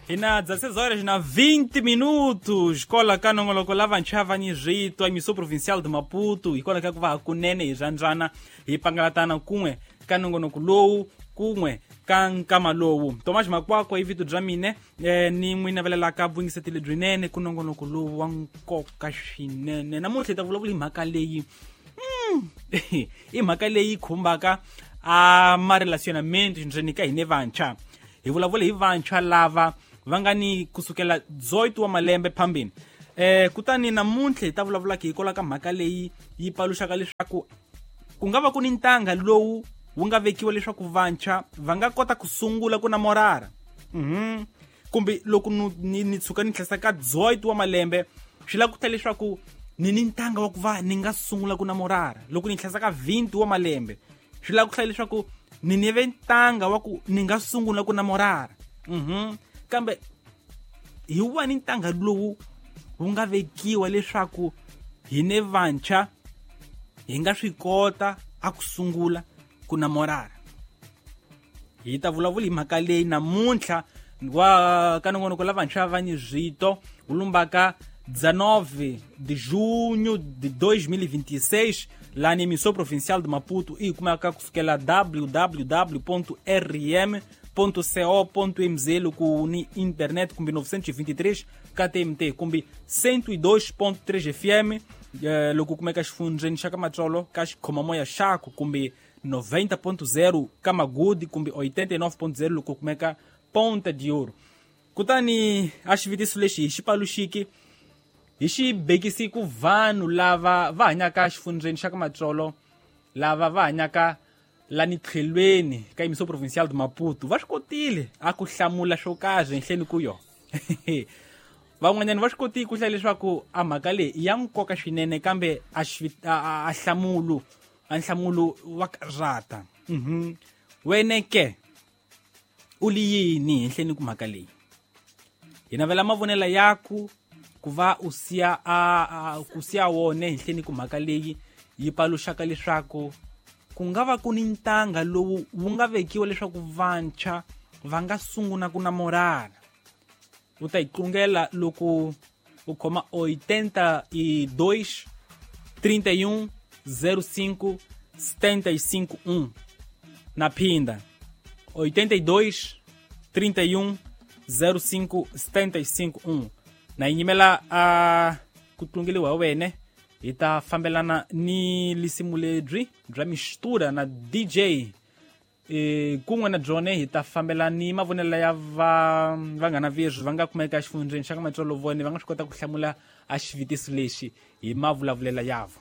Hi na 16 horas na 20 minutos kola ka nongoloko la vantshwa va ni switwa emissão provincial de Maputo hikwalaho ka ku va hakunene hi rhandzana hi pangalatana kun'we ka nongonoko lowu kun'we ka nkama lowu. Tomas Makwakwa i vito bya mine, ni n'wi navelelaka vuyingiseti lebyinene ku nongonoko lowu wa nkoka swinene. Namuntlha hi ta vulavula hi mhaka leyi, i mhaka leyi khumbaka a marelacionamento ndzeni ka hine vantshwa. Hi vulavula hi vantshwa lava va nga ni kusukela 18 wa malembe phambini. Kutani namuntlha hi ta vulavulaka hikwalaho ka mhaka leyi yi paluxaka leswaku ku nga va ku ni ntanga lowu wu nga vekiwa leswaku vantshwa va nga kota ku sungula ku namorara. Kumbe loko ni tshuka ni tlhesa ka 18 wa malembe, swi lava ku ta leswaku ni ntanga wa ku va ni nga sungula ku namorara. Loko ni tlhesa ka 20 wa malembe, swi lava ku hlaya leswaku ni ve ntanga wa ku ni nga sungula ku namorara. Kambe hi wani ntanga lowu wu nga vekiwa leswaku hine vantshwa hi nga swi kota a ku sungula ku namorara? Hi ta vulavula hi mhaka leyi namuntlha wa ka nongonoko la vantshwa va ni zwito wu lumbaka 19 de junho de 2026 lá na emissão provincial de Maputo e kumeka kusukela www.rm.co.mz loko ni internet kumbe 923 KTMT kumbe 102.3 FM, loko kumeka xifundzeni xa ka Matsolo ka xikhomamoya xaku kumbe 90.0 ka Magudi kumbe 89.0 loko kumeka Ponta de Ouro. Kutani a xivutiso lexi hi xi paluxiki hi xi bekisi ku vanhu lava va hanyaka xifundzeni xa ka Matsolo, lava va hanyaka lani tlhelweni ka emissão provincial de Maputo, va swi kotile a ku hlamula swo karhi henhleni ku yo. Van'wanyana va swi kotile ku hlaya leswaku a mhaka leyi i ya nkoka swinene, kambe a hlamulo a nhlamulo wa karhata. Wene ke u li yini henhleni ku mhaka leyi? Hi navela mavonelo yaku ku va u siya ku siya wone henhleni ku mhaka leyi yi paluxaka leswaku ku nga va ku ni ntanga lowu wu nga vekiwa leswaku vantshwa va nga sungula ku namorana. U ta yi tlungela loko u khoma 82 31 05 75 1. Na phinda 82 31 05 75 1. Na yi nyimela a ku tlungeliwa hi wene. Hi ta fambelana ni lisimu lebyi bya mistura na DJ, kun'we na byone hi ta fambela ni mavonelo ya vanghana veswi va nga kumeka exifundzeni xa ka Matsolo, vone va nga swi kota ku hlamula a xivutiso lexi hi mavulavulelo yavo.